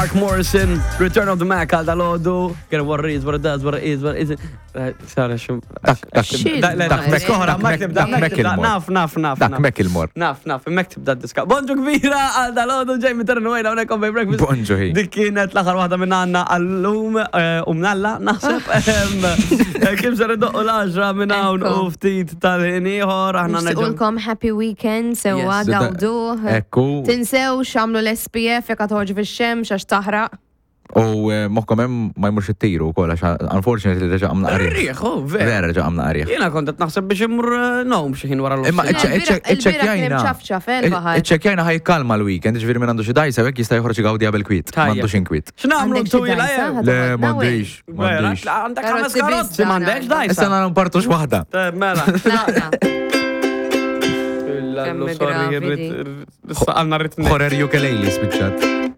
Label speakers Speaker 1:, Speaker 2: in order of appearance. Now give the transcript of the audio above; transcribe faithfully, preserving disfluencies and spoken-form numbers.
Speaker 1: Mark Morrison, Return of the Mac għal dal-ħodu. Get what it is, what it does, what it is, what it is. Sara, xum.
Speaker 2: Dak, dak, dak,
Speaker 1: Dak,
Speaker 2: dak, dak,
Speaker 1: dak, Naf, naf, naf.
Speaker 2: Dak Macklemore.
Speaker 1: Naf, naf, mek tibda diska. Bonġu kbira għal dal-ħodu Jamie Turner Wayne hawnhekk on Breakfast.
Speaker 2: Bonġu hi.
Speaker 1: Dik kienet l-aħħar waħda minn għandna għallum eh, u mnalla naħseb. Em, eh, Kim ser idoqqu l-għaxra minn hawn u ftit tal-ħin ieħor aħna nerġgħu.
Speaker 3: Nixtiqulkom happy weekend, sewa
Speaker 1: Yes.
Speaker 3: gawduh.
Speaker 2: Ekku.
Speaker 3: Tinsew xamlu l-S P F jekk toħorġu fix-xemx għax taħraq.
Speaker 2: U eh, moħkom hemm ma jmurx it-tiru wkoll għax unfortunately reġa' għamna qariħ.
Speaker 1: Rieħ, oh, vera.
Speaker 2: Vera reġa' għamna qariħ.
Speaker 1: Jiena kont qed naħseb biex immur eh, nom xi ħin wara l
Speaker 2: Imma
Speaker 3: Le, il-bieraħ- il-bieraħ kien ċafċaf, eh, il-baħar.
Speaker 2: Iċċekkjajna ħa jikkalma l-weekend, ġifieri minn għandu xi dajsa hekk jista' joħroġ igawdi qabel kwiet.
Speaker 1: Tajjeb.
Speaker 2: M'għandux inkwiet.
Speaker 1: X'nagħmlu
Speaker 3: Għandek xi
Speaker 1: twila
Speaker 3: dajsa?
Speaker 1: jew?
Speaker 3: Ħa
Speaker 2: Le,
Speaker 3: toħodna
Speaker 2: m'għandix, m'għandix.
Speaker 1: Għandek ħames
Speaker 3: Karozzi
Speaker 1: karozzi,
Speaker 3: biss,
Speaker 1: m'għandekx
Speaker 3: dan.
Speaker 1: dajsa.
Speaker 2: Issa nara npartux waħda.
Speaker 1: Eh, mela.
Speaker 3: Tlaqna.
Speaker 1: Illallu,
Speaker 3: Kemm
Speaker 1: sorry,
Speaker 3: gravi
Speaker 1: irrid-
Speaker 3: di.
Speaker 1: irrid- Issa għalna rrit
Speaker 2: Horror ukulele spiċċat.